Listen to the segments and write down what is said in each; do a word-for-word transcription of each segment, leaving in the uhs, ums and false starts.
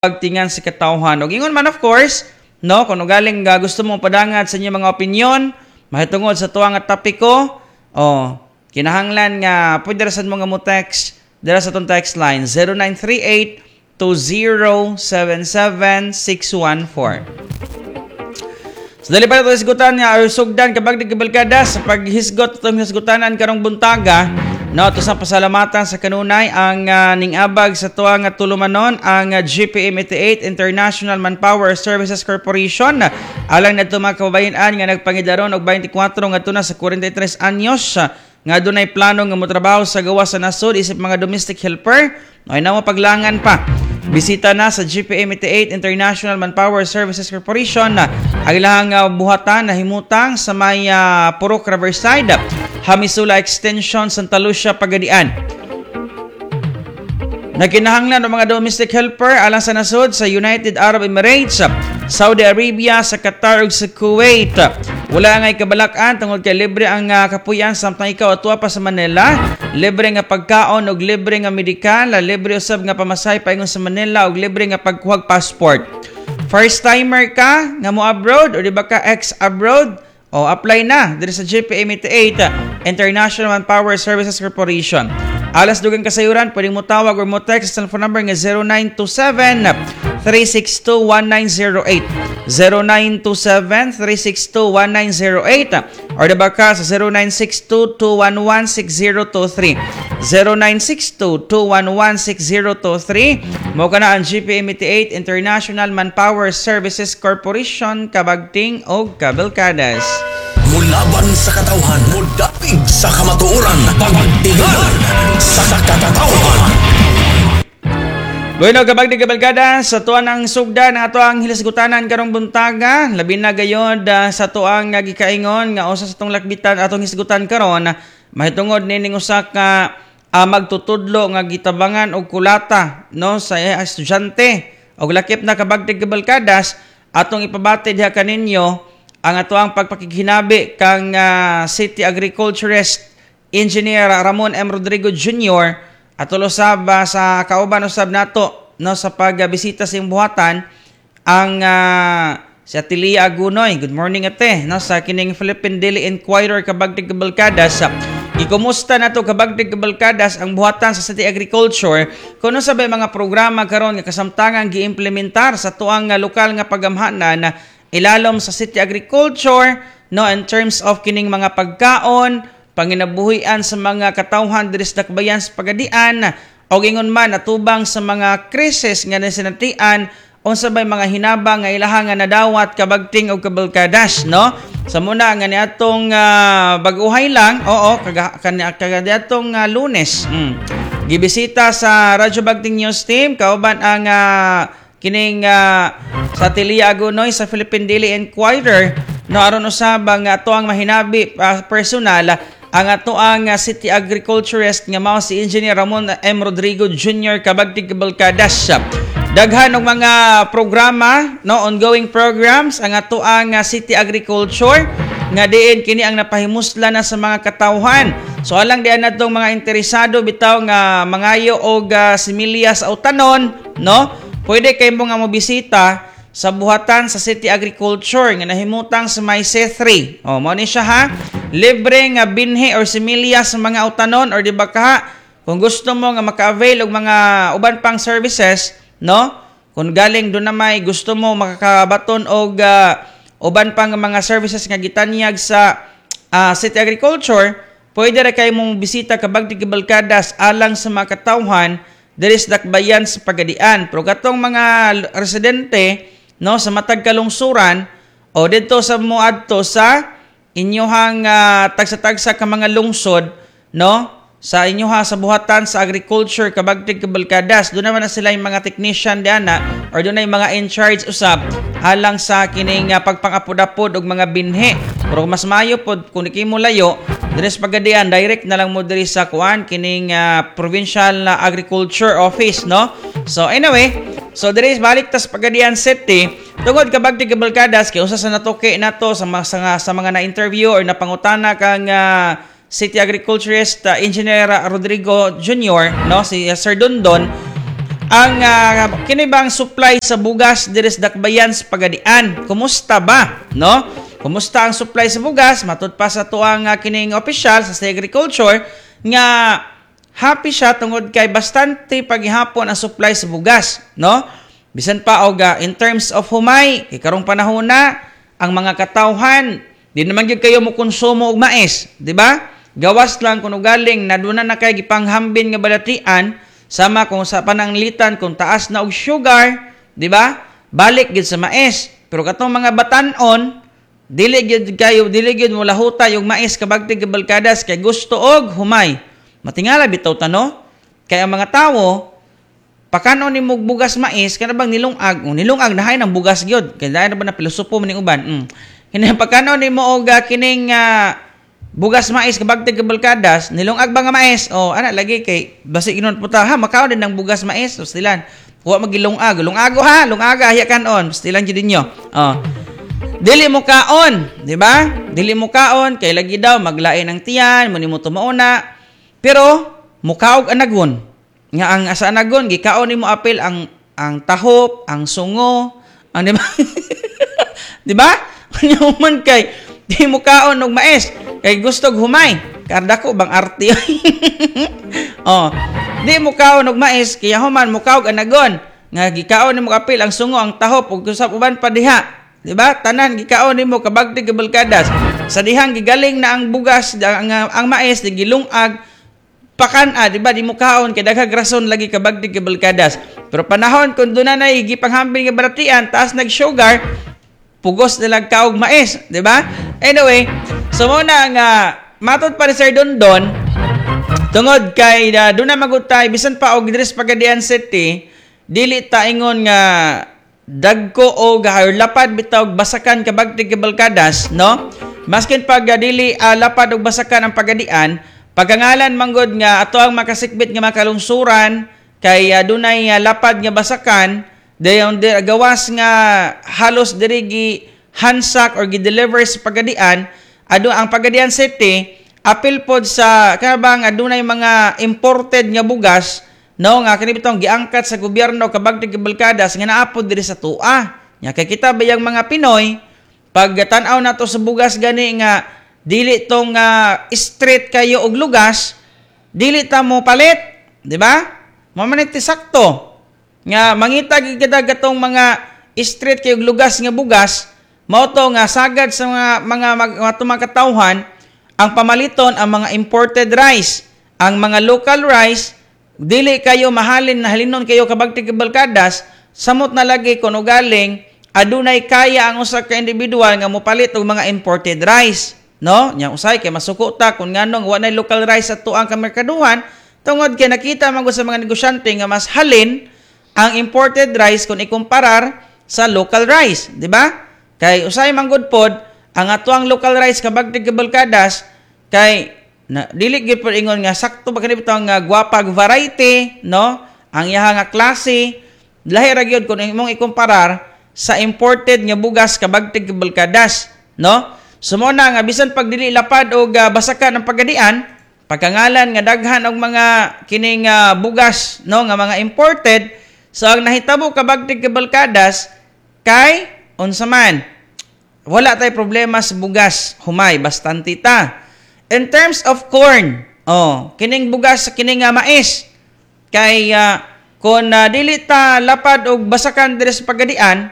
Pagtingan sa katawhan. Og ingon man, of course, no, kung galing uh, gusto mo padangat sa inyong mga opinion mahitungod sa tuwa nga topiko, oh, kinahanglan nga pwede ra sad mo nga mo text dira sa atong text line zero nine three eight two zero seven seven six one four. So dali pa nato hisgutan nga or sugdan, kabagdig kabalkada, sa paghisgot atong hisgutanan karong buntaga, no. To sa pasalamatan sa kanunay ang uh, ning-abag sa tuwa nga tulumanon, ang uh, G P M eighty-eight International Manpower Services Corporation, alang nadto mga kababayen-an nga nagpangidaron og twenty-four ngadto na sa forty-three anyos nga dunay plano nga motrabaho sa gawas sa nasod isip mga domestic helper ay namo paglangan pa. Bisita na sa G P M eighty-eight International Manpower Services Corporation na ang ilang uh, buhatan na himutang sa may uh, Purok Riverside, Hamisula Extension, Santa Lucia, Pagadian. Nagkinahanglan ng mga domestic helper alang sa nasod sa United Arab Emirates, Saudi Arabia, sa Qatar ug sa Kuwait. Wala ngay kabalakan tungod kay libre ang uh, kapuyan samtang ikaw atua pa sa Manila, libre nga pagkaon ug libre nga medikal, libre usab nga pamasahe paingon sa Manila ug libre nga pagkuhag passport. First timer ka nga mo abroad o di ba ka ex abroad? O apply na diri sa G P M eighty-eight International Manpower Services Corporation. Alang dugang kasayuran, pwede mo tawag or mo text sa cellphone number nga zero nine two seven three six two one nine zero eight, zero nine two seven three six two one nine zero eight, or diba ka sa zero nine six two two one one six zero two three, zero nine six two two one one six zero two three. Mo kana ang G P M eighty-eight International Manpower Services Corporation, kabagting og kabalkadas. Mulaban sa katawhan, mudapig sa kamatuoran, pagtingal sa katawhan. Bueno, kabagdi kabalkada, sa tuwa ng sugda ng ato ang hilasgutanan karong buntaga, labi na gayod uh, sa tuang nga gikaingon nga usa sa atong lakbitan atong hisgutan karon mahitungod nining usa ka uh, magtutudlo nga gitabangan og kulata, no, sa estudyante. Og lakip na, kabagdi kabalkadas, atong ipabati diha kaninyo ang ato ang pagpakighinabi kang uh, City Agriculturist Engineer Ramon M. Rodrigo Junior Ato usab uh, sa kauban usab nato, no, sa pagbisita sa iyong buhatan ang uh, si Ate Lia Agunoy. Good morning, ate, no, sa kining Philippine Daily Inquirer, kabagdig kabalkadas. Gikumusta nato, kabagdig kabalkadas, ang buhatan sa City Agriculture kuno sa mga programa karon nga kasamtangan giimplementar sa tuang nga lokal nga pagamhanan na ilalom sa City Agriculture, no, in terms of kining mga pagkaon, panginabuhian sa mga katawhan diri sa dakbayan sa Pagadian o ingon man atubang sa mga krisis nga nasinatian, unsa bay mga hinabang nga ilaha nga nadawat, kabagting og kabalkadas, no. Sa muna nga niadtong uh, bag-uhay lang, oo, kaga, kaga niadtong uh, Lunes, mm, gibisita sa Radyo Bagting News Team kauban ang uh, kining uh, sa Tilia Agunoy sa Philippine Daily Inquirer, no, aron usab ang ato ang mahinabi uh, personal ang ato ang uh, City Agriculturist nga mao si Engineer Ramon M. Rodrigo Junior Kabagtig Kabalkadas. Daghan og mga programa, no, ongoing programs ang ato ang uh, City Agriculture nga diin kini ang napahimusla na sa mga katawhan. So alang diyan natong mga interesado bitaw nga mangayo og uh, similya sa utanon, no? Pwede kay mo nga mobisita sa buhatan sa City Agriculture nga nahimutang sa may C three. O mao ni siya ha. Libre nga binhi or similya sa mga utanon or di ba ka kung gusto mo nga maka-avail og mga uban pang services, no? Kung galing doon na may gusto mo makakabaton og uh, uban pang mga services nga gitanyag sa uh, City Agriculture, pwede ra kay mong bisita, kabagdi kabalkadas, alang sa mga katawhan diri sa dakbayan sa Pagadian. Pero katong mga residente, no, sa matag kalungsuran o didto sa moadto sa inyohang uh, tagsa-tagsa ka mga lungsod, no, sa inyoha sa buhatan sa agriculture, kabagtig kabalkadas, doon naman na sila yung mga technician diana or doon na yung mga in charge usab alang sa kining uh, pagpangapod-apod og mga binhi. Pero mas maayo pod kung di mo layo diri sa Pagadian, direct na lang mo diri sa kuan kining uh, Provincial Agriculture Office, no. So anyway, so diri balik tas Pagadian City tungod, kabagtig kabalkadas, kay usa sa natuki nato sa mga sa, sa mga na-interview or napangutana kang uh, City Agriculturist uh, Engineer Rodrigo Junior, no, si uh, Sir Dondon. Ang uh, kini bang supply sa bugas diri sa Dakbayan sa Pagadian? Kumusta ba, no? Kumusta ang supply sa bugas? Matud pa sa tuang uh, kining opisyal sa Agriculture nga happy siya tungod kay bastante paghihapon ang supply sa bugas, no? Bisan pa og uh, in terms of humay, kay karong panahon na ang mga katawhan di naman gyud kayo mo konsumo og mais, di ba? Gawas lang kung ugaling na duna na kay gipanghambin nga balatian sama kung sa pananglitan kung taas na og sugar, di ba? Balik gid sa mais. Pero katong mga batan-on, dili gid kayo, dili gid mo lahutay og mais kabagtig kabalkadas kay gusto og humay. Matingala bitaw ta, no? Kay ang mga tawo pakanon ni mog bugas mais kana bang nilungag, oh, nilungag na ng bugas gyud. Kay dai na ba na pilosopo man ning uban. Mm. Kini pakanon nimo og uh, kining uh, bugas mais kabagtig kabalkadas, nilungag ba nga mais? Oh, ana lagi kay basi inon puta ha, makaon din ng bugas mais, so stilan. Wa magilungag, lungago ha, lungaga hiya kanon, stilan jud ninyo. Oh. Dili mo kaon, di ba? Dili mo kaon kay lagi daw maglain ang tiyan, mo nimo tumauna. Pero mukaog anagon. Nga ang asa anagon gikaon nimo apil ang ang tahop, ang sungo, ang di ba? Di ba? Nya man kay di mo kaon og mais kay gusto og humay. Kardako bang arte. Oh. Di mo kaon og mais kaya human mo kaog anagon nga gikaon nimo apil ang sungo, ang tahop ug usab uban pa diha. Di ba? Tanan gikaon nimo kabagtig kabalkadas. Sa dihang gigaling na ang bugas ang, ang, ang mais di gilungag pakan-a, di ba? Di mo kaon kay daghang rason lagi kabagtig kabalkadas. Pero panahon kung doon na gipanghambin nga balatian, taas nag-sugar, pugos nilang kaog mais, di ba? Anyway, so mo na nga matod pa ni Sir Dondon tungod kay uh, doon na magutay bisan pa og diri sa Pagadian City, dili ta ingon nga dagko o or lapad bitaw og basakan kabagtig kabalkadas, no? Maskin pag uh, dili uh, lapad og basakan ang Pagadian, pagkangalan manggod nga ato ang makasikbit nga makalungsuran kay uh, dunay uh, lapad nga basakan dayon di, gawas nga halos diri gi hansak or gi-deliver sa Pagadian, ado ang Pagadian City apil pod sa kanabang adunay mga imported nga bugas, no, nga kini bitong giangkat sa gobyerno kabagtig kabalkadas nga naapod diri sa tua. Nya kay kita bayang mga Pinoy pag tan-aw nato sa bugas gani nga dili tong uh, street kayo og lugas, dili ta mo palit, di ba? Mao man ti sakto nga mangita gid kita gatong mga street kayo og lugas nga bugas, mao to nga sagad sa mga mga mga, mga katawhan ang pamaliton ang mga imported rice, ang mga local rice dili kayo mahalin na halinon kayo kabagtig kabalkadas, samot na lagi kun ugaling adunay kaya ang usa ka individual nga mopalit og mga imported rice, no? Nya usay kay masuko ta kun nganong wa nay local rice sa tuang kamerkaduhan tungod kay nakita man gud sa mga negosyante nga mas halin ang imported rice kung ikumparar sa local rice, di ba? Kay usay man gud pod ang atuang local rice kabagtig kabalkadas kay na dili gyud pod ingon nga sakto ba kani bitong nga gwapag variety, no? Ang iyaha nga klase lahi ra gyud kung imong ikumparar sa imported nga bugas kabagtig kabalkadas, no? So mo na nga bisan pag dili lapad og uh, basakan ang Pagadian, pagkangalan nga daghan og mga kining uh, bugas, no, nga mga imported, so ang nahitabo kabagtig kabalkadas kay unsa man, wala tay problema sa bugas, humay bastante ta. In terms of corn, oh, kining bugas kining uh, mais kay uh, kung uh, dili ta lapad og basakan diri sa Pagadian,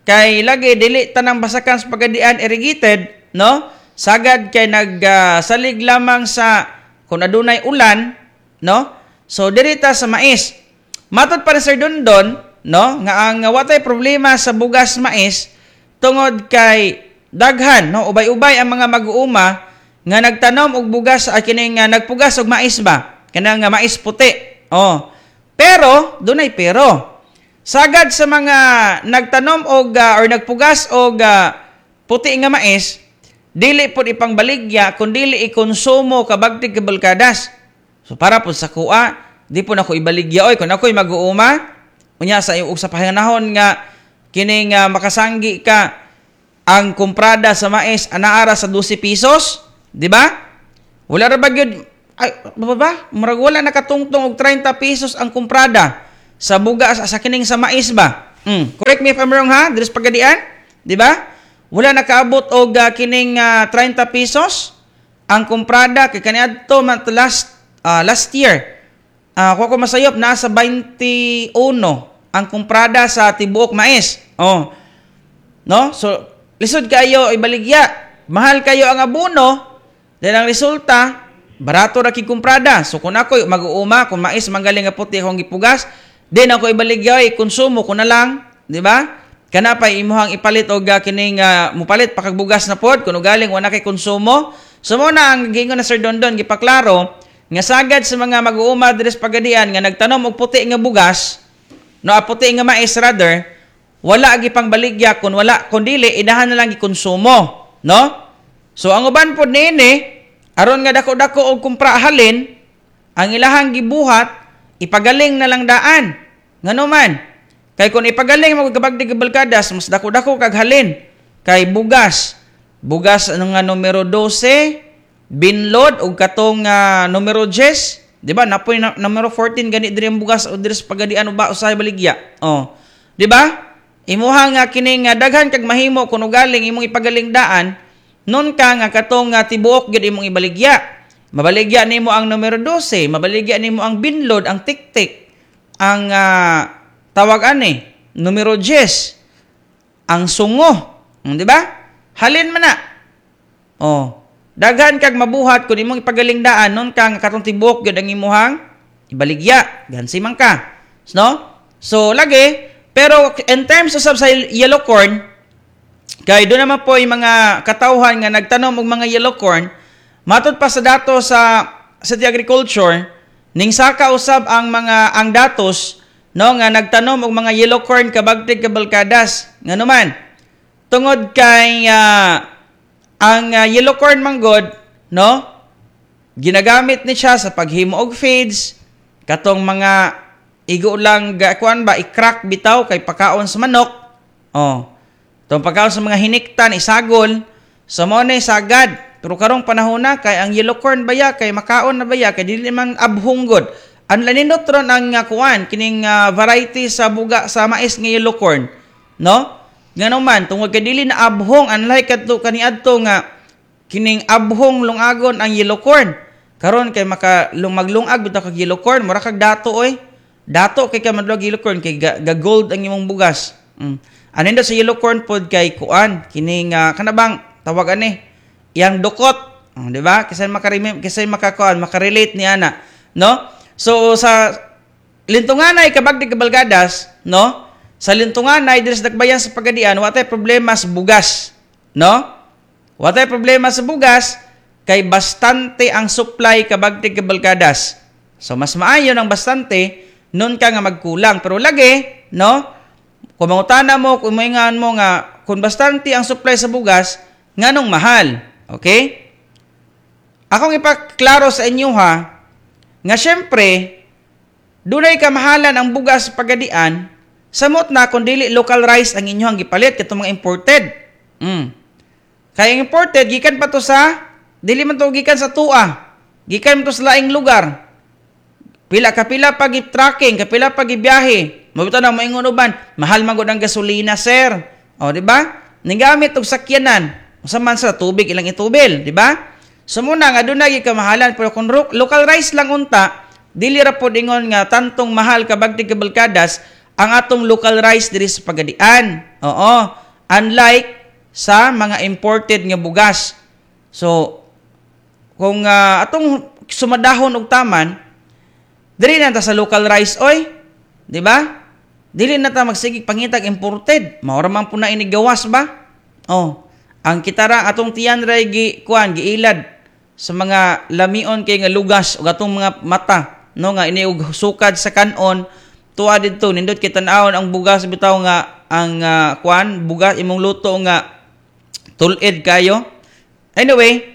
kay lagi dili tanang basakan sa Pagadian irrigated, no? Sagad kay nagsalig uh, lamang sa kung adunay ulan, no? So diri ta sa mais. Matod pa ni Sir Dondon, no, nga ang uh, watay problema sa bugas mais tungod kay daghan, no, ubay-ubay ang mga mag-uuma nga nagtanom og bugas uh, kining uh, nagpugas og mais ba, kanang uh, mais puti. Oh. Pero dunay pero. Sagad sa mga nagtanom og uh, or nagpugas og uh, puti nga mais, dili pod ipangbaligya kun dili ikonsumo kabagtig kabalkadas. So para pod sa kuha, di po nako ibaligya oy kun ako'y mag-uuma unya sa ug sa panahon nga kining uh, makasanggi ka ang kumprada sa mais anaara sa dose pesos, di ba? Wala ra ba gyud ay ba ba? Murag wala nakatungtong og treinta pesos ang kumprada. Sa bugas, sa kining sa mais ba? Mm. Correct me if I'm wrong ha, diri sa Pagadian, di ba? Wala nakaabot og uh, kining uh, thirty pesos ang kumprada kay kaniadto man last uh, last year. Uh, kung ako masayop, nasa twenty-one ang kumprada sa tibuok mais. Oh. No? So lisod kayo ibaligya. Mahal kayo ang abono, then ang resulta barato ra kig kumprada. So kung ako mag-uuma, kung mais manggaling nga puti akong gipugas, then ako ibaligya, konsumo ko na lang, di ba? Kana pa imuhang ipalit og uh, kining uh, mupalit pa kag bugas na pod kun galing wala kay konsumo. So mo na ang giingon na Sir Dondon, gipaklaro nga sagad sa mga mag-uuma diri sa Pagadian nga nagtanom og puti nga bugas, no, puti nga mais rather, wala gipang baligya kun wala, kun dili idahan na lang gikonsumo, no? So ang uban pod niini, aron nga dako-dako og kumpra halin, ang ilahang gibuhat, ipagaling na lang daan. Ngano man? Kay kung ipagaling mo kabagdig kabalkadas, mas dako-dako kag halin. Kay bugas, bugas ano nga numero twelve, binlod og katong uh, numero ten, di ba? Napoy na, numero fourteen gani diri ang bugas o diri sa Pagadian o ba usahay baligya. Oh. Di ba? Imuha nga kining uh, daghan kag mahimo kun ugaling imong ipagaling daan, nun ka nga katong uh, tibuok gyud imong ibaligya. Mabaligya nimo ang numero twelve, mabaligya nimo ang binlod, ang tiktik, ang uh, tawag ani, numero ten, ang sungo, di ba? Halin man na. Oh, daghan kag mabuhat kun imong ipagaling daan, nun ka nga katong tibuok gyud ang imuhang ibaligya, gansi man ka. No? So lagi, pero in terms usab sa yellow corn, kay doon naman po yung mga katawhan nga nagtanom og mga yellow corn, matud pa sa dato sa City Agriculture, ning saka usab ang mga ang datos, no, nga nagtanom og mga yellow corn kabagtig kabalkadas. Ngano man? Tungod kay uh, ang uh, yellow corn manggod, no, ginagamit ni siya sa paghimo og feeds, katong mga igo lang kuan ba, i-crack bitaw kay pakaon sa manok. Oh. Tong pakaon sa mga hiniktan, isagol, sa mo na sagad. Pero karong panahon na kay ang yellow corn baya kay makaon na baya kay dili man abhunggod. Ang lanindot ron ang uh, kuan kining uh, variety sa buga sa mais nga yellow corn, no? Ngano man tungod kay dili na abhong, unlike kadto kaniadto nga kining abhong lungagon ang yellow corn. Karon kay maka maglungag bitaw kag yellow corn, mura kag dato oy. Dato kay ka madlog yellow corn kay ga, ga gold ang imong bugas. Mm. Aninda sa yellow corn pod kay kuan kining uh, kanabang tawag ani yang dukot, oh, di ba? Kasi makarime kasi makakuan, makarelate ni ana, no? So sa Lintunganay kabagdig kabalgadas, no? Sa Lintunganay diri sa Dakbayan sa Pagadian, wa tay problema sa bugas, no? Wa tay problema sa bugas kay bastante ang supply kabagdig kabalgadas. So mas maayo ng bastante nun ka nga magkulang, pero lagi, no? Kung mangutana mo, kung maingan mo nga kung bastante ang supply sa bugas, nganong mahal? Okay? Akong ipaklaro sa inyo ha, nga syempre, dunay kamahalan ang bugas sa Pagadian, samot na kung dili local rice ang inyong gipalit, katong mga imported. Mm. Kaya ang imported, gikan pa to sa, dili man to gikan sa tua, gikan man to sa laing lugar. Pila kapila pag tracking, kapila pag ibiyahe. Mabito na moingon uban, mahal man gud ang gasolina, sir. O, di ba? Ninggamit og sakyanan, usa man sa tubig ilang itubil, di ba? So muna nga dunay kamahalan, pero kung local rice lang unta, dili ra pod ingon nga tantong mahal kabagtig kabalkadas ang atong local rice diri sa Pagadian. Oo, unlike sa mga imported nga bugas. So kung uh, atong sumadahon og taman, diri na ta sa local rice oy, di ba? Dili na ta magsigig pangitag imported. Mao ra man po na inigawas ba? Oh, ang kitara atong tiyan ray gi kuan giilad sa mga lamion kay nga lugas ug atong mga mata, no, nga ini og sukad sa kanon tuwa didto nindot kay tan-awon ang bugas bitaw nga ang uh, kuan bugas imong luto nga tulid kayo. Anyway,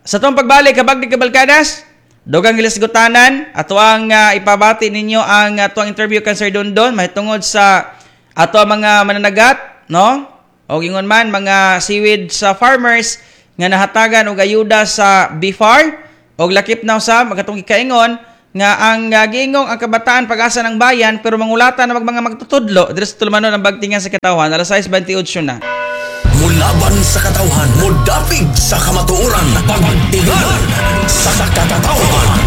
sa tong pagbalik kabagdig kabalkadas, dugang gilisgutanan ato ang uh, ipabati ninyo ang ato ang interview kan Sir Dondon mahitungod sa ato ang mga mananagat, no? O ingon man mga seaweed sa farmers nga nahatagan og ayuda sa B F A R og lakip na sa magatong gikaingon Nga ang uh, giingong ang kabataan pag-asa ng bayan, pero mangulata na mag mga magtutudlo diri sa tulumanon ang Bagtingan sa Katawhan. Alas sais bentiocho na. Mulaban sa katawhan, mudapig sa kamatuoran, Pagtingal sa Katawhan.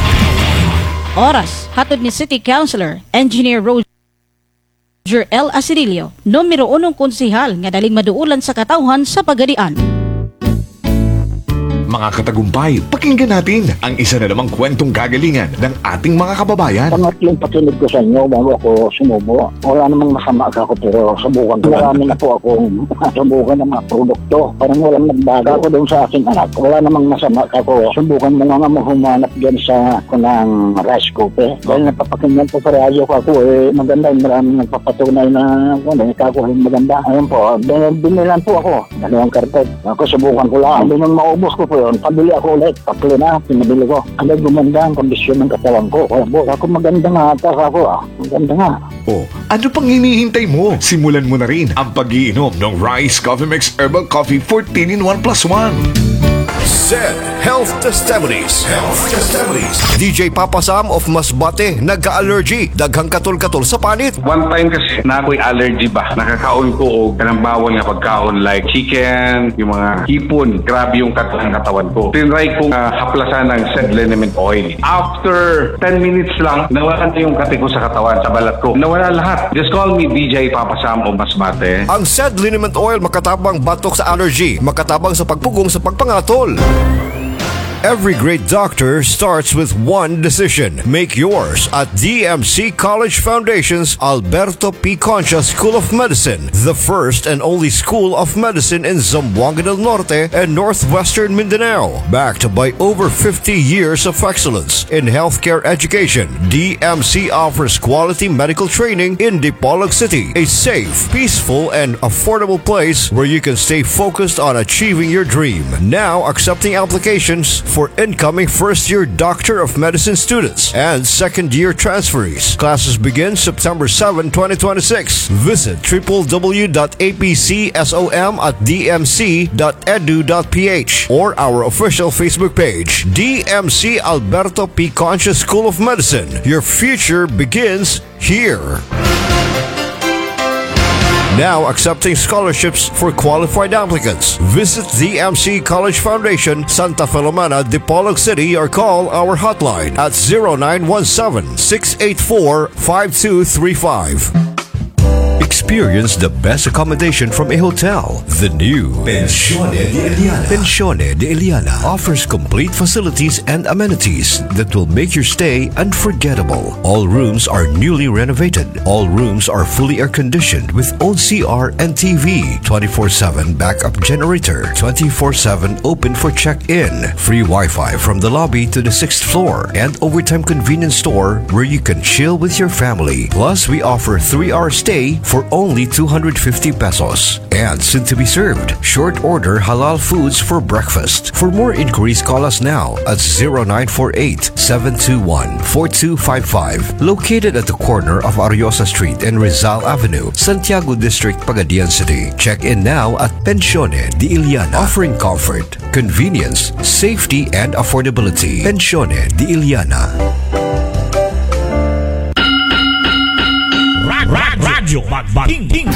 Oras, hatod ni City Councilor, Engineer Roger L. Asedillo, numero unong konsihal nga daling maduulan sa katawhan sa Pagadian. Mga katagumpay, pakinggan natin ang isa na namang kwentong kagalingan ng ating mga kababayan. Pangatlong pakinig ko sa inyo bago ako sumubo. Wala namang masama ako, pero subukan ko. Marami na po akong subukan ng mga produkto. Parang walang nagbago ako doon sa aking anak. Wala namang masama ako. Subukan mo nga nga humanap dyan sa kunang rice cooker. Dahil napapakinggan ko sa radyo ko ako eh, maganda. Maraming nagpapatunay na ano, kako eh, maganda. Ayun po, bin- binilan po ako. Dalawang karton. Ako, subukan ko lang. Hindi nung maubos ko po yun, pabili ako ulit. Tatlo na, pinabili ko. Agad gumanda ang kondisyon ng katawan ko. Kaya po, ako, maganda nga ata ako ah. Maganda nga. O, ano pang hinihintay mo? Simulan mo na rin ang pagiinom ng Rice Coffee Mix Herbal Coffee fourteen in one plus one. Said Health Testimonies. Health Testimonies. D J Papa Sam of Masbate, nagka-allergy, daghang katol-katol sa panit. One time kasi na ako'y allergy ba. Nakakaon ko og kanang bawal nga pagkaon like chicken, yung mga hipon. Grabe yung katawan katawan ko. Tinry kong uh, haplasan ng said liniment oil. After ten minutes lang, nawala na yung kati ko sa katawan, sa balat ko. Nawala lahat. Just call me D J Papa Sam of Masbate. Ang said liniment oil, makatabang batok sa allergy, makatabang sa pagpugong sa pagpangatol. Every great doctor starts with one decision. Make yours at D M C College Foundation's Alberto P. Concha School of Medicine, the first and only school of medicine in Zamboanga del Norte and Northwestern Mindanao. Backed by over fifty years of excellence in healthcare education, D M C offers quality medical training in Dipolog City, a safe, peaceful, and affordable place where you can stay focused on achieving your dream. Now accepting applications for incoming first year Doctor of Medicine students and second year transferees. Classes begin September seven, twenty twenty-six. Visit w w w dot apcsom at d m c dot edu dot p h or our official Facebook page, D M C Alberto P. Concha School of Medicine. Your future begins here. Now accepting scholarships for qualified applicants. Visit D M C College Foundation, Santa Filomena, Dipolog City, or call our hotline at zero nine one seven six eight four five two three five. Experience the best accommodation from a hotel. The new Pensione de Eliana. Pensione de Eliana offers complete facilities and amenities that will make your stay unforgettable. All rooms are newly renovated. All rooms are fully air conditioned with own C R and T V, twenty-four seven backup generator, twenty-four seven open for check-in, free Wi-Fi from the lobby to the sixth floor, and overtime convenience store where you can chill with your family. Plus, we offer three-hour stay for only two hundred fifty pesos. And soon to be served, short order halal foods for breakfast. For more inquiries, call us now at zero nine four eight seven two one four two five five. Located at the corner of Ariosa Street and Rizal Avenue, Santiago District, Pagadian City. Check in now at Pensione di Iliana, offering comfort, convenience, safety, and affordability. Pensione di Iliana. Radyo Bagting.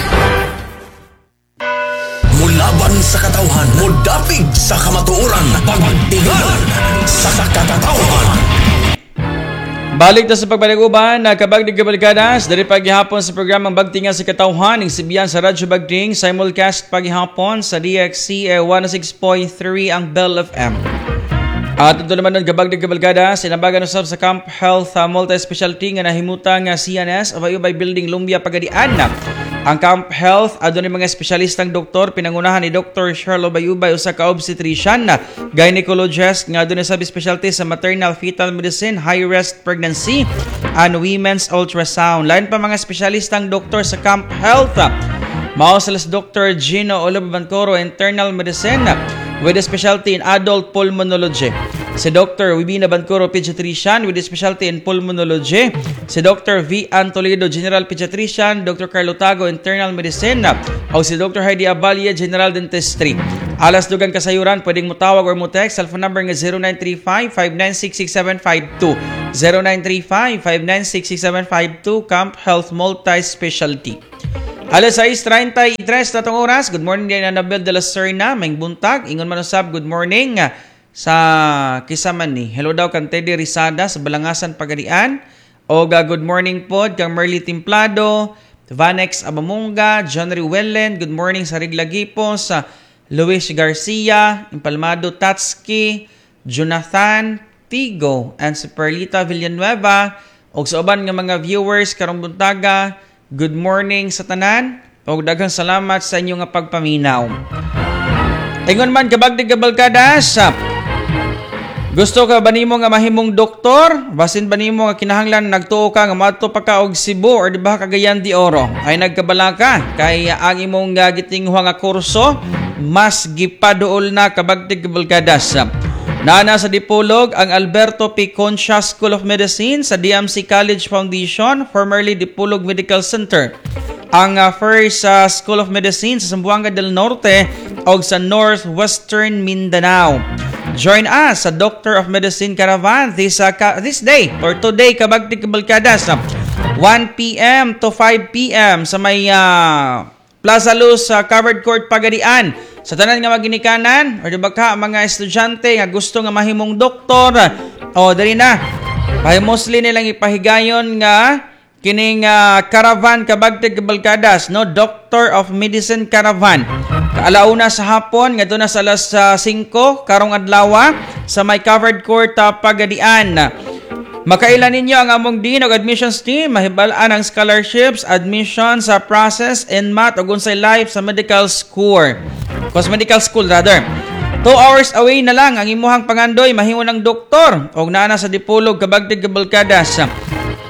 Mulaban sa katawhan, mudapig sa kamatuoran, Pagtingal sa Katawhan. Balik ta sa pagbalik-uban, nagkabagdig kabalikadas, dari paghihapon sa programang Bagtingan sa Katawhan, ing sibiyan sa Radyo Bagting, simulcast paghihapon sa D X C one oh six point three ang Bell F M. At ito naman ng Gabagdig Kabalkada, sinabagan usab sa Camp Health uh, Multi-Specialty nga nahimutang nga C N S, Ubay-Ubay Building, Lumbia, Pagadian. Ang Camp Health adunay mga espesyalistang doktor pinangunahan ni Doctor Charlo Bayubay, usa ka obstetrician, gynecologist nga adunay sub specialty sa maternal fetal medicine, high risk pregnancy and women's ultrasound. Lain pa mga espesyalistang doktor sa Camp Health. Mao sila si Doctor Gino Oliver Bancoro, internal medicine with a specialty in adult pulmonology. Si Doctor Wibina Bancoro, pediatrician with a specialty in pulmonology. Si Doctor V. Antoledo, general pediatrician. Doctor Carlo Tago, internal medicine. O si Doctor Heidi Avalle, general dentistry. Alas dugang kasayuran, pwedeng mo tawag or mo text cellphone number nga zero nine three five, five nine six, six seven five two, zero nine three five, five nine six, six seven five two, Camp Health Multi-Specialty. Alas sais trentay tres na tong oras. Good morning din, Annabel de la Serna. Maayong buntag. Ingon man usab, good morning sa kisaman ni. Hello daw kang Teddy Rizada sa Balangasan, Pagadian. O good morning pod kang Merly Timplado, Vanex Abamunga, John Wellen. Good morning sa Riglagipo, sa Luis Garcia, Impalmado Tatski, Jonathan Tigo, and si Perlita Villanueva. Og sa uban nga mga viewers karong buntaga, good morning sa tanan. Og daghang salamat sa inyong nga pagpaminaw. Ingon man, kabagdig kabalkadas, gusto ka ba nimo nga mahimong doktor? Basin ba nimo nga kinahanglan nagtuo ka nga moadto pa ka og Cebu or di ba Cagayan de Oro? Ay nagkabala ka kay ang imong uh, gitinguha nga kurso mas gipaduol na, kabagtig kabalkadas. Nana sa Dipolog ang Alberto P. Concha School of Medicine sa D M C College Foundation, formerly Dipolog Medical Center. Ang uh, first uh, School of Medicine sa Zamboanga del Norte o sa Northwestern Mindanao. Join us sa Doctor of Medicine Caravan this uh, ka- this day or today, kabagtig kabalkadas, one p m to five p m sa may uh, Plaza Luz sa uh, Covered Court, Pagadian. Sa tanan nga maginikanan or di ba ka mga estudyante nga gusto nga mahimong doktor, o dali na. Pahi mostly nilang ipahigayon nga kining uh, caravan, kabagtig kabalkadas, no, Doctor of Medicine Caravan. Kaalauna sa hapon ngadto na sa alas uh, singko karong adlaw sa may covered court, uh, Pagadian. Makaila ninyo ang among dean og admissions team, mahibal-an ang scholarships, admission sa process, N M A T ug unsay life sa medical school. Cause medical school rather. Two hours away na lang ang imuhang pangandoy mahimo ng doktor og naa na sa Dipolog, kabagtig kabalkadas.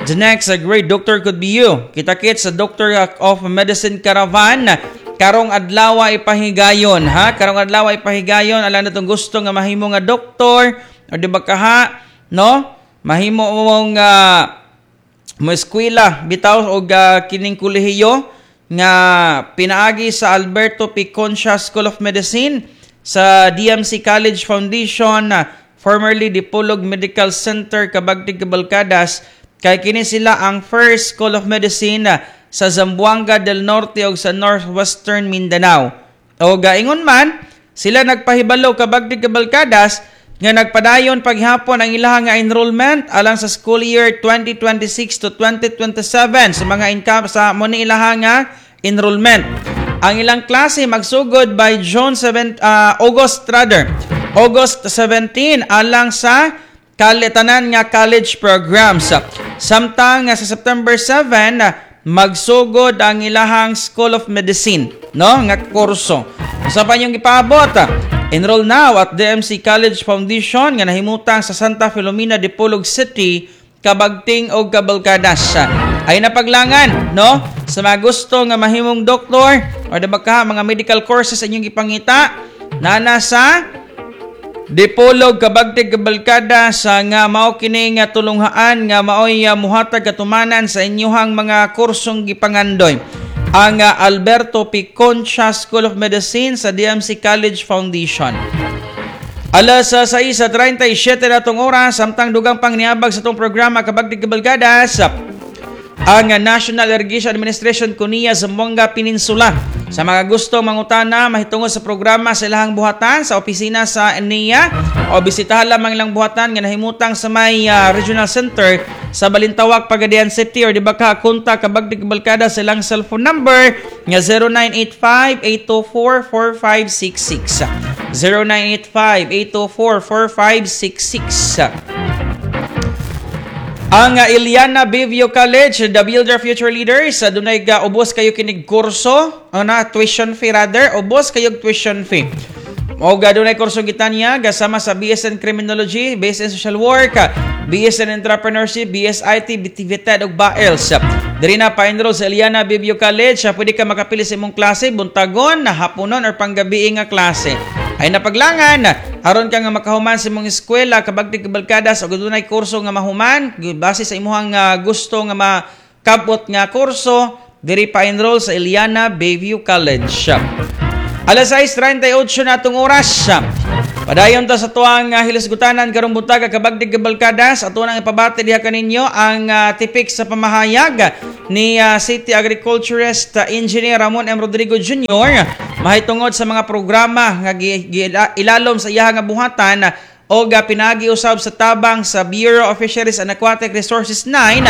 The next a great doctor could be you. Kita-kits sa Doctor of Medicine Caravan karong adlaw ipahigayon, ha, karong adlaw ipahigayon alang natong gusto nga mahimo nga doktor o di ba kaha, no, mahimo mong uh, mo eskwela bitaw og uh, kining kolehiyo nga pinaagi sa Alberto P. Concha School of Medicine sa D M C College Foundation, uh, formerly Dipolog Medical Center, Kabagtig Kabalkadas, kay kini sila ang first School of Medicine uh, sa Zamboanga del Norte ug sa Northwestern Mindanao. O gaingon man, sila nagpahibalo, kabagtig kabalkadas, nga nagpadayon paghapon ang ilahang nga enrollment alang sa school year twenty twenty-six to twenty twenty-seven sa mga income sa mo ni ilahang nga enrollment. Ang ilang klase magsugod by June seven, uh, August rather. August seventeen alang sa kalitanan nga college programs. Samtang sa September seven magsugod ang ilahang School of Medicine, no, nga kurso. Sa pa inyong ipaabot, enroll now at D M C College Foundation nga nahimutang sa Santa Filomena, Dipolog City, Kabagting og Kabalkadas. Ay napaglangan, no? Sa mga gusto nga mahimong doktor or di ba ka mga medical courses inyong ipangita, nana sa Dipolog, Kabagtig Kabalkada, sa nga mao kini nga tulunghaan nga maoy uh, muhatag katumanan sa inyuhang mga kursong gipangandoy, ang uh, Alberto P. Concha School of Medicine sa D M C College Foundation. Alas uh, sais trentay siyete na tong oras, samtang dugang pang niabag sa tong programa, Kabagtig Kabalkadas, ang National Irrigation Administration Kunia Zamboanga Peninsula. Sa mga gusto mangutana mahitungod sa programa sa ilahang buhatan sa opisina sa N I A o bisitahan lamang ilang buhatan nga nahimutang sa may uh, Regional Center sa Balintawak, Pagadian City or di ba ka kontak, Kabagdig Balkada, sa ilang cellphone number nga zero nine eight five, eight two four, four five six six, zero nine eight five, eight two four, four five six six. Ang uh, Iliana Bayview College, the Builder Future Leaders, uh, dunay ga ubos kayo kinig kurso, uh, na tuition fee rather, ubos kayo tuition fee. O ga dunay kurso gitanya gasama sa B S in Criminology, B S in Social Work, B S in Entrepreneurship, B S I T, B T V T E D ug B A E L S. Diri na pa-enroll sa Iliana Bayview College, pwede ka makapili sa imong klase, buntagon, haponon or panggabi nga klase. Ay napaglangan, aron ka nga makahuman sa imong eskwela, kabagtig kabalkadas, o dunay kurso nga mahuman, base sa imuhang uh, gusto nga makabot nga kurso, diri pa-enroll sa Iliana Bayview College. Alas sais trentay otso na atong oras. Padayon ta sa tuang uh, hilasgutanan karong buntaga, kabagdig kabalkadas. Ato nang ipabati diha kaninyo ang uh, tipik sa pamahayag ni uh, City Agriculturist uh, Engineer Ramon M. Rodrigo Junior mahitungod sa mga programa nga gi, gi, ilalom sa iyaha nga buhatan o uh, pinagi usab sa tabang sa Bureau of Fisheries and Aquatic Resources nine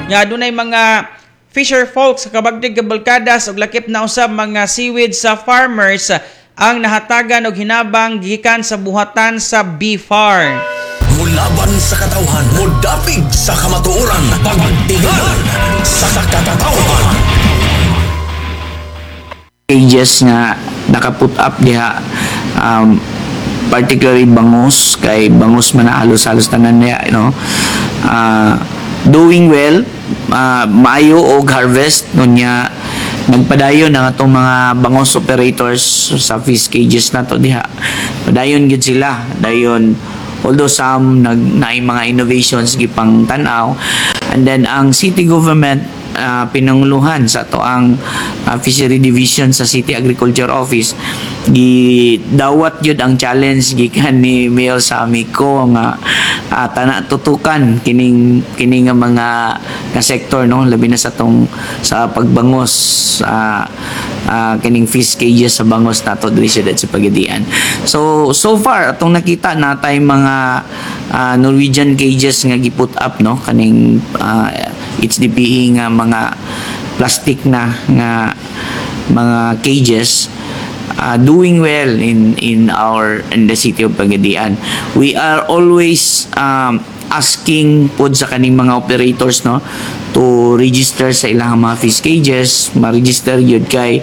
nga adunay mga fisher folks sa kabagdig kabalkadas ug lakip na usab mga seaweed sa farmers ang nahatagan og hinabang gikan sa buhatan sa B F A R. Mulaban sa katawhan, mudapig sa kamatuoran, pagtingal sa katawhan. Cages nga naka-put up diha, um, particularly bangus, kay bangus man na halos-halos tanan niya, no? Ah, doing well, uh, maayo og harvest nunya. Nagpadayon ang atong mga bangos operators sa fish cages nato diha. Padayon gid sila, dayon, although some nag naay mga innovations gipang tan-aw. And then ang city government, uh, pinanguluhan sa ato ang uh, Fishery Division sa City Agriculture Office, gidawat yun ang challenge gikan ni Mayor Sammy Co nga uh, tana tutukan kining kini nga mga nga sektor, no, labi na sa tong sa pagbangos, uh, uh, kining fish cages sa bangos nato diri sa sa Pagadian. So so far atong nakita natay mga uh, Norwegian cages nga gi-put up, no, kaning uh, H D P E nga mga plastic na nga mga cages, uh, doing well in in our in the city of Pagadian. We are always um, asking pod sa kaning mga operators, no, to register sa ilang mga fish cages, ma-register yun kay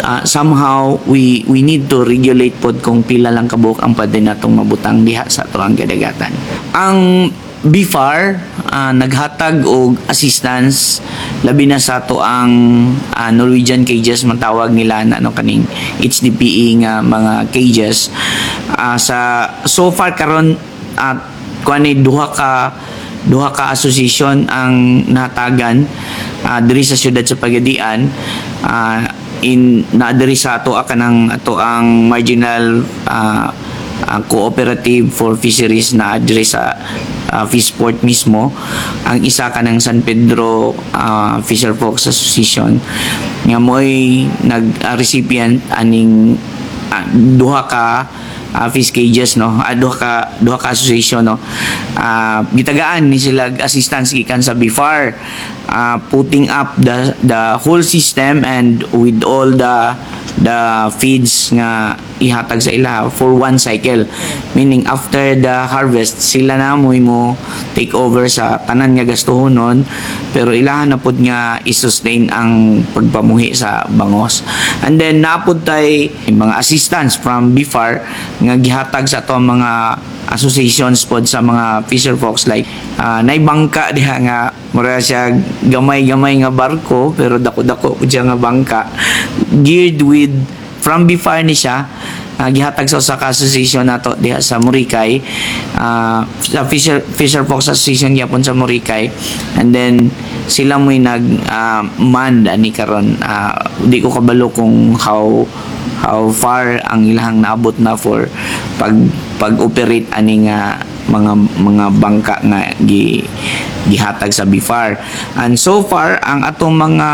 uh, somehow we we need to regulate pod kung pila lang kabuok ang pwede natong mabutang diha sa atuang kadagatan. Ang B F A R uh, naghatag og assistance labi na sa ato ang uh, Norwegian cages matawag nila na ano, kaning H D P E nga mga cages. uh, sa so far karon, at uh, kuan ni duha ka duha ka association ang natagan uh, diri sa siyudad sa Pagadian, uh, in na diri sa ato kanang ato ang marginal uh, uh, cooperative for fisheries na diri sa uh, Fishport mismo. Ang isa kanang San Pedro uh, Fisher Folks Association nga mo'y nag uh, recipient aning uh, duha ka uh, fish cages, no, uh, duha ka duha ka association, no. Uh, gitagaan ni sila assistance gikan sa B F A R, uh, putting up the the whole system and with all the the feeds nga ihatag sa ila for one cycle, meaning after the harvest sila na mo mo take over sa tanan nga gastuhonon, pero ilahan na pud nga i-sustain ang pagpamuhi sa bangos. And then napud tay mga assistance from B F A R nga gihatag sa ato ang mga associations pod sa mga fisher folks, like uh, nay bangka diha nga mura siya gamay-gamay nga barko pero dako-dako pud siya nga bangka, geared with from B F A R ni siya, uh, gihatag sa usa ka association nato diha sa Muricay, uh, sa Fisher Fisher Folks Association gyapon sa Muricay. And then sila mo'y nag uh, man ani karon. Uh, di ko kabalo kung how how far ang ilang naabot na for pag pag-operate ani nga mga mga bangka nga gi gihatag sa B F A R. And so far ang atong mga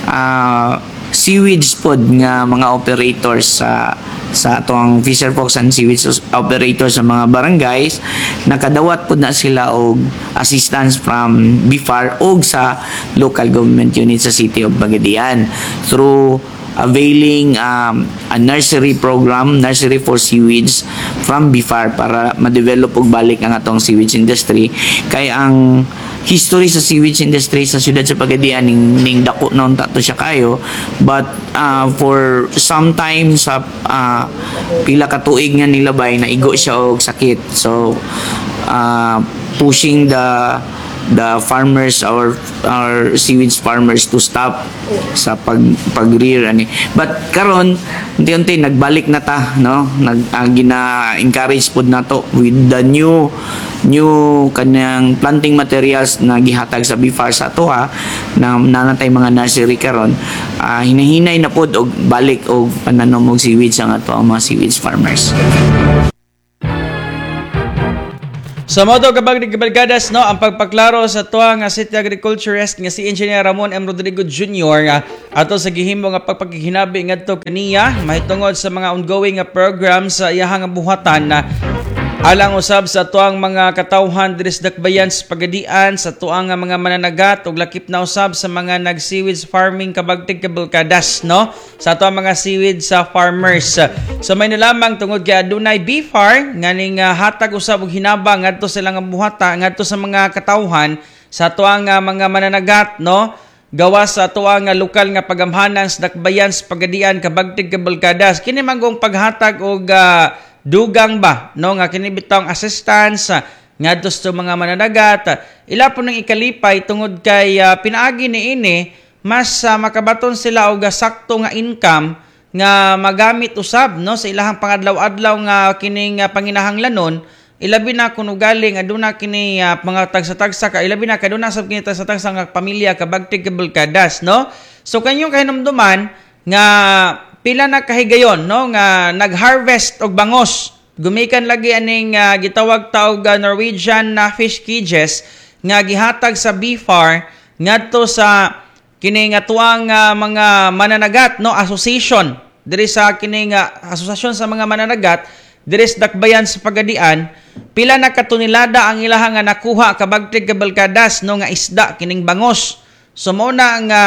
uh, seaweeds pod nga mga operators sa sa atong fisher folks and seaweeds operators sa mga barangays, nakadawat pod na sila og assistance from B F A R og sa local government unit sa City of Pagadian through availing um, a nursery program, nursery for seaweeds from B F A R para ma-develop og balik ang atong seaweeds industry, kay ang history sa seaweeds industry sa siyudad sa Pagadian ning, ning dako na unta to siya kayo, but uh, for some time sa uh, pila ka tuig nga nilabay, naigo siya og sakit. So uh, pushing the the farmers, our our seaweeds farmers to stop sa pag pag-rear ani. But karon, unti-unti nagbalik na ta, no? Nag uh, gina-encourage pod nato with the new new kanang planting materials na gihatag sa B F A R sa atoha na nanatay mga nursery karon, uh, hinahinay na pod og balik og pananom og seaweeds ang ato ang mga seaweeds farmers. Sa modo, kabagdig kabalgadas, no, ang pagpaklaro sa tuwa nga City Agriculturist nga si Engineer Ramon M. Rodrigo Junior nga ato sa gihimo nga pagpaghinabi ngadto kaniya mahitungod sa mga ongoing nga program sa iyahang buhatan na alang usab sa tuang mga katawhan diri sa Dakbayan sa Pagadian, sa tuang nga mga mananagat ug lakip na usab sa mga nag-seaweeds farming, kabagtig kabalkadas, no, sa tuang mga seaweed sa farmers. So may lamang tungod kay adunay B F A R nga ning uh, hatag usab og hinabang ngadto sa ilang buhata ngadto sa mga katawhan sa tuang uh, mga mananagat, no, gawas sa tuang nga lokal nga pagamhanan sa Dakbayan sa Pagadian, kabagtig kabalkadas. Kini manggong paghatag og uh, dugang ba, no, nga kini bitawng assistance uh, ngadto sa mga mananagat, ila po nang ikalipay tungod kay uh, pinaagi niini mas uh, makabaton sila og sakto nga income nga magamit usab, no, sa ilahang pangadlaw-adlaw nga kining uh, panginahanglanon, ilabi na kun ugaling aduna kini uh, mga tagsa-tagsa ka, ilabi na kaduna sab kini tagsa-tagsa nga pamilya, kabagtig kabalkadas, no? So kanyong kahinumduman nga pila na kahigayon, no, nga nag-harvest og bangos gumikan lagi aning uh, gitawag ta og uh, Norwegian na uh, fish cages nga gihatag sa B F A R ngadto sa kini nga tuang uh, mga mananagat, no, association diri sa kining uh, asosasyon sa mga mananagat diri sa Dakbayan sa Pagadian. Pila na katonelada ang ilahang nga nakuha, kabagtig kabalkadas, no, nga isda kining bangos. So mao na nga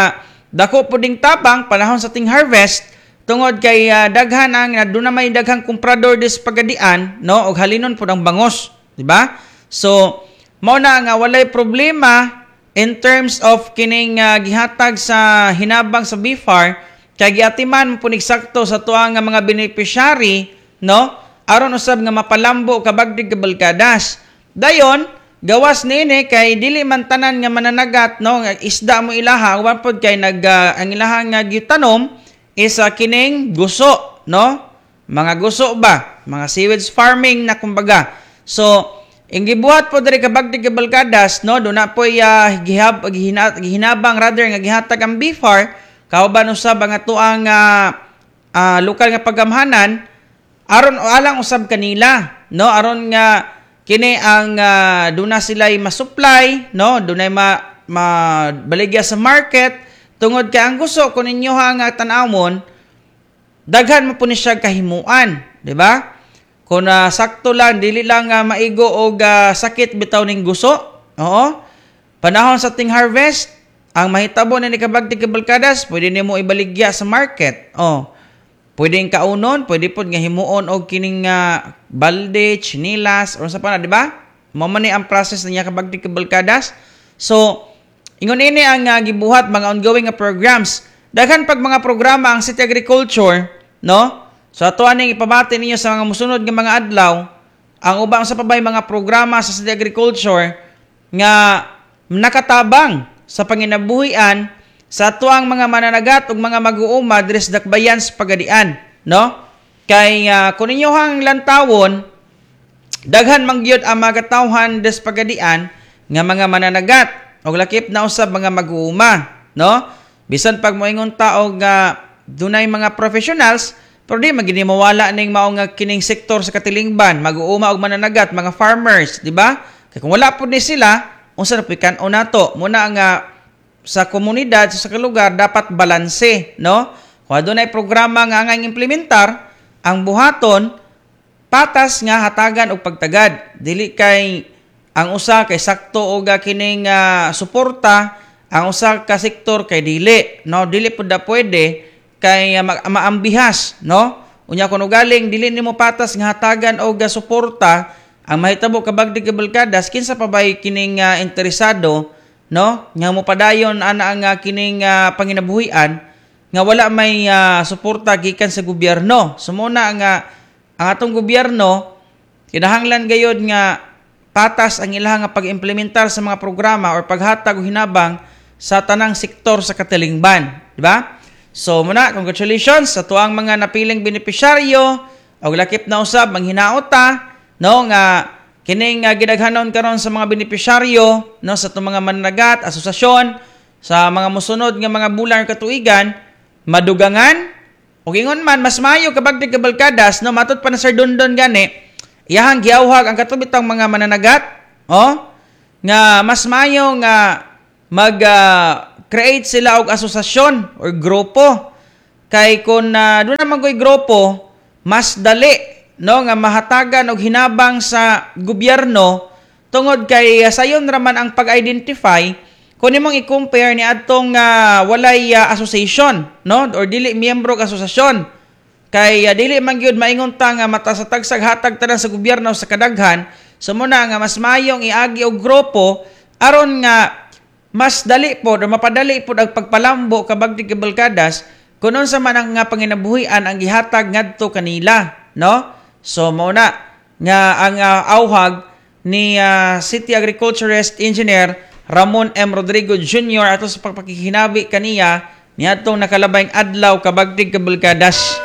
dako puding tabang panahon sa ting harvest tungod kay uh, daghan ang aduna may daghang komprador dis Pagadian, no, og halinon pud ang bangos, di ba? So mao na nga walay problema in terms of kining uh, gihatag sa hinabang sa B F A R kay giatiman mo sakto sa tuang nga mga beneficiary, no, aron usab nga mapalambo, kabagdig kabalkadas. Dayon gawas niini kay dili man tanan nga mananagat, no, nga isda mo ilaha, uban pod kay nag uh, ang ilaha nga gitanom is uh, kining guso, no, mga guso ba, mga seaweeds farming na kumbaga. So ing gibuhat po diri, kabagdig kabalkadas, no, duna poy uh, gihab gihina, gihinabang rather nga gihatag ang B F A R kauban usab ang atoang uh, uh, lokal nga pagamhanan aron alang usab kanila, no, aron nga kini ang uh, duna sila'y masupply, no, dunay ma, mabaligya sa market tungod kay ang gusto kung ninyo nga tan-awon, daghan mo po ni siya kahimuan, di ba? Kung uh, sakto lang, dili lang uh, maigo og uh, sakit bitaw ning guso. Oo, panahon sa ting harvest, ang mahitabo ni kabagtig kabalkadas, pwede nimo ibaligya sa market. Oh, pwedeng kaunon, pwede pod nga himuon og kining uh, balde, chinilas, or sa pa na, di ba? Mao man ni ang process niya, kabagtig kabalkadas. So ingon ini ang uh, gibuhat mga ongoing nga programs. Daghan pag mga programa ang City Agriculture, no? So ato aning ipabati ninyo sa mga musunod nga mga adlaw ang ubang sa pabay mga programa sa City Agriculture nga nakatabang sa panginabuhian sa atuang mga mananagat ug mga mag-uuma diri sa Dakbayan sa Pagadian, no? Kay uh, kung ninyohang lantawon, daghan man gyud ang mga katawhan diri sa Pagadian nga mga mananagat og lakip na usab mga mag-uuma, no? Bisan pag moingon ta og uh, dunay mga professionals, pero di magini mawala ning mao nga kining sektor sa katilingban, mag-uuma og mananagat, mga farmers, di ba? Kay kung wala pud ni sila, unsa na kan-on nato? Muna nga sa komunidad, sa lugar, dapat balanse, no? Kung adunay programa nga angay implementar, ang buhaton patas nga hatagan og pagtagad. Dili kay ang usa kay sakto og kining uh, suporta, ang usa ka sektor kay dili, no? Dili pud da pwede kay uh, ma- maambihas, no? Unya kun ugaling dili nimo patas nga hatagan og uh, suporta, ang mahitabo, kabagdig kabalkadas, kinsa pa bay kining uh, interesado, no, nga mopadayon ana ang uh, kining uh, panginabuhian nga wala may uh, suporta gikan sa gobyerno? So muna nga ang atong gobyerno kinahanglan gayod nga Patas ang ilang nga pag-implementar sa mga programa or paghatag og hinabang sa tanang sektor sa katilingban, di ba? So muna, congratulations sa tuang mga napiling benepisyaryo og lakip na usab manghinaot ta, no, nga kining uh, gidaghanon karon sa mga benepisyaryo, no, sa atong mga mananagat, asosasyon sa mga mosunod nga mga bulan or katuigan madugangan ug ingon man mas maayo, kabagdig kabalkadas, no, matud pa na Sir Dondon gani, iyahang giawhag ang katong mga mananagat, oh, nga mas maayo nga mag uh, create sila og asosasyon or grupo kay kung uh, doon naman ko'y grupo, mas dali, no, nga mahatagan og hinabang sa gobyerno tungod kay uh, sayon raman ang pag-identify kung imong i-compare ni adtong uh, walay uh, association, no, or dili miyembro og asosasyon, kay uh, dili man gyud maingon ta nga mata sa tagsag hatag tanan sa gobyerno sa kadaghan. So muna nga mas mayong iagi og grupo aron nga mas dali po o mapadali po ang pagpalambo, kabagdi kabalkadas, kung unsa man ang nga panginabuhian ang gihatag ngadto kanila, no? So mao na nga ang uh, awhag ni uh, City Agriculturist Engineer Ramon M. Rodrigo Junior ato sa pagpakikinabi kaniya niadtong nakalabayng adlaw, kabagdig kabalkadas.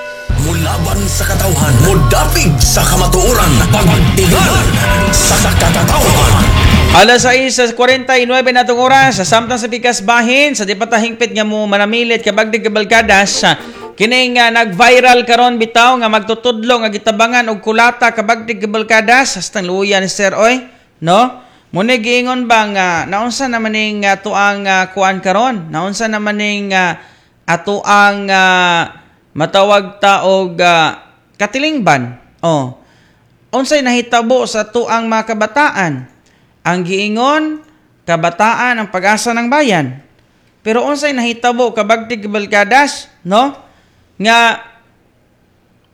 Mulaban sa katawhan, mudapig sa kamatuoran, pagtingal sa katawhan. Alas sais kuwarenta y nuebe na itong oras, sa samtang sa pikas bahin, sa di pa ta hingpit nga mo manamilit, kabagdig kabalkadas, kining uh, nag-viral karon bitaw nga magtutudlo nga gitabangan og kulata, kabagdig kabalkadas, hastang luya ni sir oy, no? Muna giingon ba nga naunsa naman ning uh, tuang uh, kuan karon? Naunsa naman ning uh, atuang uh, matawag ta og uh, katilingban? Oh. Unsay nahitabo sa tuang mga kabataan? Ang giingon, kabataan ang pag-asa ng bayan. Pero unsay nahitabo, kabagtig kabalkadas, no? Nga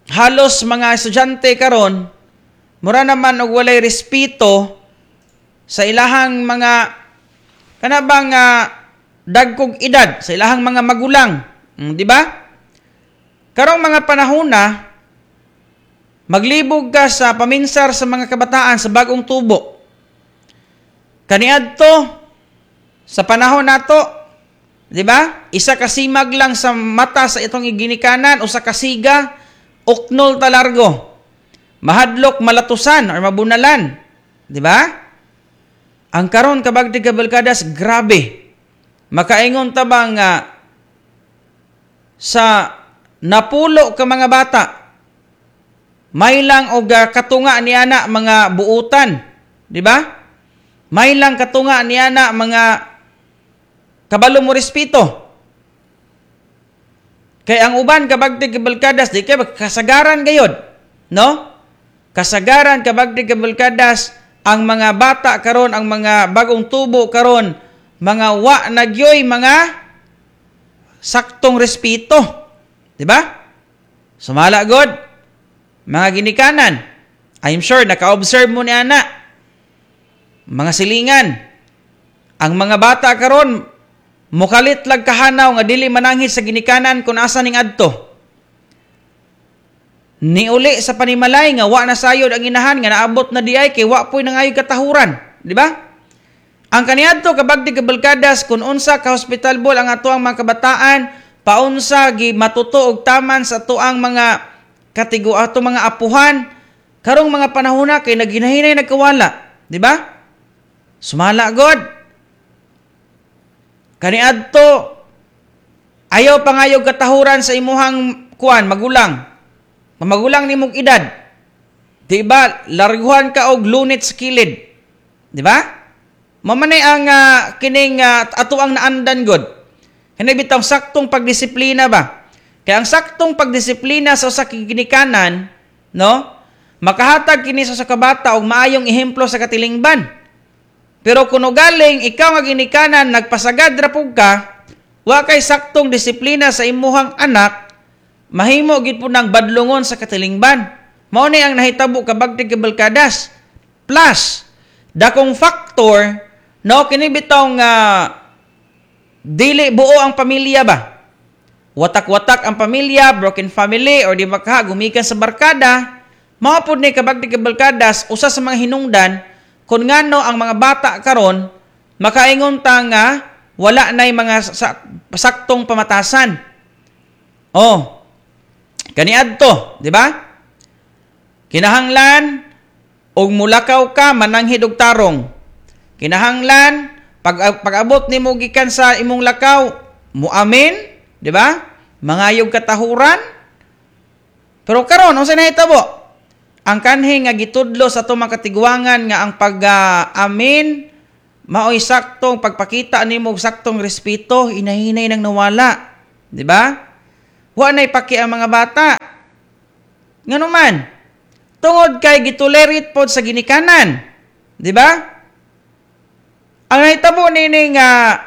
halos mga estudyante karon mura naman og walay respeto sa ilahang mga kana bang uh, dagkog edad, sa ilahang mga magulang, mm, di ba? Karong mga panahon na maglibog ka sa paminsar sa mga kabataan sa bagong tubo. Kaniadto sa panahon nato, di ba? Isa ka simag lang sa mata sa itong iginikanan, usa ka siga, uknol ta largo. Mahadlok malatusan or mabunalan, di ba? Ang karon, kabagdi kabalkadas, grabe. Makaingon ta ba nga sa napulo ka mga bata, may lang og ah, katunga ni ana mga buutan, di ba? May lang katunga ni ana mga kabalo mo respeto. Kay ang uban, kabagdi kabalkadas, di kay kasagaran gayod, no? Kasagaran, kabagdi kabalkadas, ang mga bata karon, ang mga bagong tubo karon, mga wa nagyoy mga saktong respeto. Di ba? Sumala god mga ginikanan. I'm sure naka-observe mo ni ana. Mga silingan. Ang mga bata karon mukalit lag kahanaw nga dili mananghid sa ginikanan kung asa ning adto. Niuli sa panimalay nga wa na sayod ang inahan nga naabot na diay kay wa poy nangayoy katahuran, di ba? Ang kaniadto, kabagdi kabalkadas, kung unsa ka hospitalable ang ato ang mga kabataan, paunsa gi matuto og taman sa atuang mga katigo ato mga apuhan karong mga panahona kay naginahinay nagkawala, di ba? Sumala god. Kaniadto ayaw pangayog katahuran sa imuhang kuan magulang. Magulang nimong edad. Di ba? Larguhan ka og lunit sa kilid. Di ba? Mamanay ang uh, kining uh, ato ang naandan god. Kani bitaw saktong pagdisiplina ba? Kaya ang saktong pagdisiplina sa usa ka ginikanan, no? Makahatag kini sa usa ka bata og maayong ehemplo sa katilingban. Pero kung galing ikaw nga ginikanan nagpasagad ra pug ka, wa kay saktong disiplina sa imuhang anak, mahimo gid po ng badlongon sa katilingban. Mao ni ang nahitabo, kabagtig kabalkadas. Plus, dakong factor, no, kini bitaw nga dili buo ang pamilya ba? Watak-watak ang pamilya, broken family, or di ba ka, gumikan sa barkada, mao pod ni, kabagtig kabalkadas, usa sa mga hinungdan Kung ngano ang mga bata karon makaingon ta nga wala na'y mga sa, saktong pamatasan. Oh. Kaniadto, di ba? Kinahanglan og mulakaw ka, mananghid og tarong. Kinahanglan pag pag-abot nimo gikan sa imong lakaw, muamin, di ba? Mangayog katahuran. Pero karon, unsa nahitabo? Ang kanhi nga gitudlo sa atong mga katiguangan nga ang pag-amin maoy saktong pagpakita nimo og saktong respeto, hinahinay nang nawala, di ba? Wa nay paki ang mga bata. Ngano man? Tungod kay gitolerate pod sa ginikanan, di ba? Ang nahitabo nini nga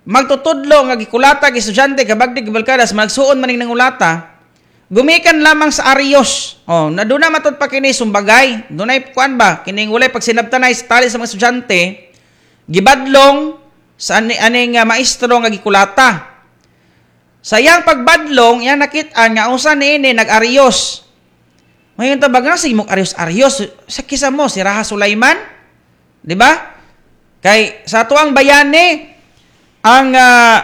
magtutudlo nga gikulata gi estudyante, kabagdig gibalkadas, magsuon maning nangulata, gumikan lamang sa aryos. Oh, na doon na matud pa kini sumbagay. Dunay kuan ba kining walay pagsinabtanay sa tali sa mga estudyante, gibadlong sa ani aning uh, maestro nga gikulata. Sa iyang pagbadlong, iyang nakit-an nga usa niini nag-aryos. Mayon tabag nga sige mong aryos-aryos sa kisa mo si Raha Sulaiman, di ba? Kay sa atuang bayani ang uh,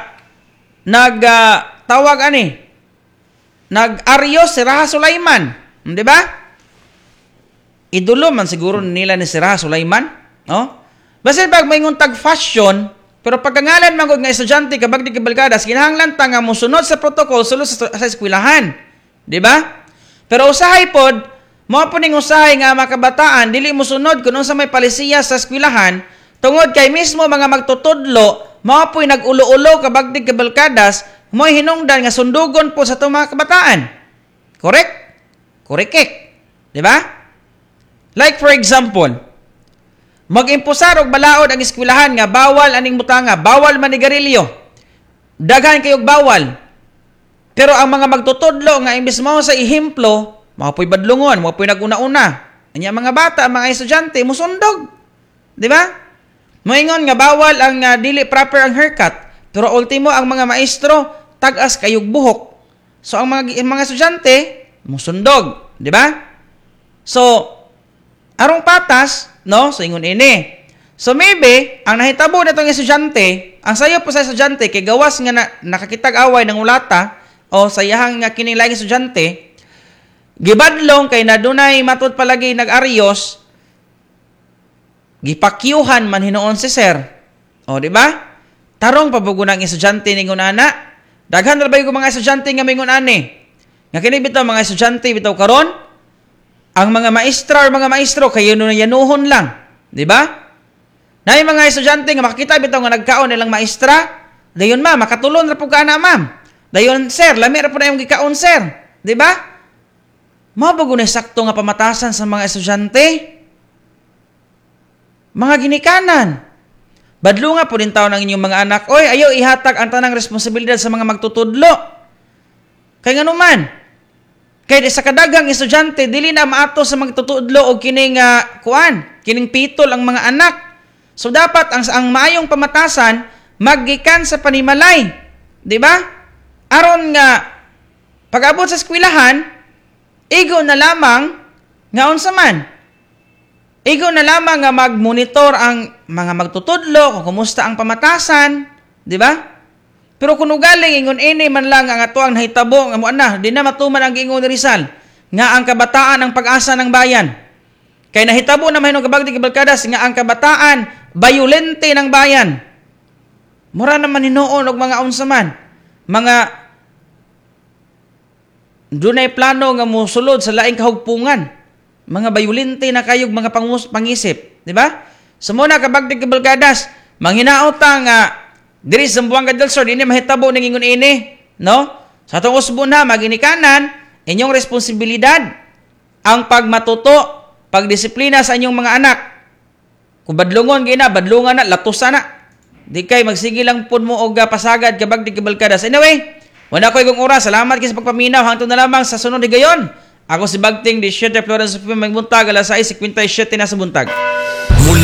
nag uh, tawag ani nag-aryos si Raha Sulaiman, di ba? Idolo man siguro nila ni si Raha Sulaiman, no? Basta pag maingon tag fashion, pero pagkangalan man gud nga estudyante kabag di kabalgadas, kinahanglan ta nga mosunod sa protocol sulod sa, sa eskwelahan, di ba? Pero usahay pod, mao po ning usahay nga mga kabataan dili mosunod kun unsa may palisiya sa eskwelahan, tungod kay mismo mga magtutudlo mao po'y nag-ulo-ulo kabagdig kabalkadas, mo'y hinungdan nga sundugon po sa itong mga kabataan. Correct? Correct. Di ba? Like for example, mag-imposar og balaod ang eskwelahan nga bawal aning butanga, bawal manigarilyo. Daghan kayog bawal. Pero ang mga magtutudlo nga imbes mao sa ehemplo, mao po'y badlungon, mao po'y naguna-una. Anya mga bata, mga estudyante musundog. Di ba? Moingon nga bawal ang uh, dili proper ang haircut, pero ultimo ang mga maestro tag-as kayog buhok. So ang mga mga estudyante musundog, di ba? So arong patas, no? So ingon ini. So maybe ang nahitabo natong estudyante, ang sayo po sa estudyante kay gawas nga na, nakakitag away ng ulata o sa iyahang nga kining laing estudyante, gibadlong kay nadunay matud palagi nag-aryos, gipakyuhan man hinuon si sir. O, di ba? Tarong pabugo ng estudyante ningon ana. Daghan ra ba yung mga estudyante nga mingon ani? Nga kini bitaw mga estudyante bitaw karon, ang mga maestra or mga maestro kayo no yanuhon lang, di ba? Nay mga estudyante nga makakita bitaw nga nagkaon nilang maestra, dayon ma makatulon ra pud ka ana ma'am. Dayon sir, lami ra pud na imong gikaon sir, di ba? Mao ba gunay sakto nga pamatasan sa mga estudyante? Mga ginikanan. Badlunga po din taon ang inyong mga anak. Oy, ayo ihatag ang tanang responsibilidad sa mga magtutudlo. Kay nganuman, kay sa kadaghang estudyante dili na maato sa magtutudlo og kining uh, kuan, kining pitol ang mga anak. So dapat ang ang maayong pamatasan maggikan sa panimalay, di ba? Aron nga pag-abot sa eskwelahan, igo na lamang nga unsa man. Igo na lamang nga mag-monitor ang mga magtutudlo kung kumusta ang pamatasan, di ba? Pero kung ugaling ingon ini man lang ang ato ang nahitabo nga mo na, di na matuman ang giingon ni Rizal nga ang kabataan ang pag-asa ng bayan. Kay nahitabo na mahinong kabagdi kabalkadas nga ang kabataan bayolente ng bayan. Mura naman hinuon og mga unsa man, mga dunay plano nga mosulod sa laing kahugpungan. Mga bayolente na kayog mga pangus, pangisip, di ba? So muna kabagdig kabalkadas, manghinaot ta nga diri sa Zamboanga del Sur dinhi mahitabo ning ingon ini, no? Sa atong usbon na maginikanan, inyong responsibilidad ang pagmatuto, pagdisiplina sa inyong mga anak. Kung badlungon gina, badlungan na, latusan na. Di kay magsige lang pud mo og pasagad kabagdig kabalkadas. Anyway, wala ko igong oras. Salamat kay sa pagpaminaw. Hangtod na lamang sa sunod higayon. Ako si Bagting, di Siyete Florence P. Magbuntag, alas sais kwinta y siyete na sa buntag. Mula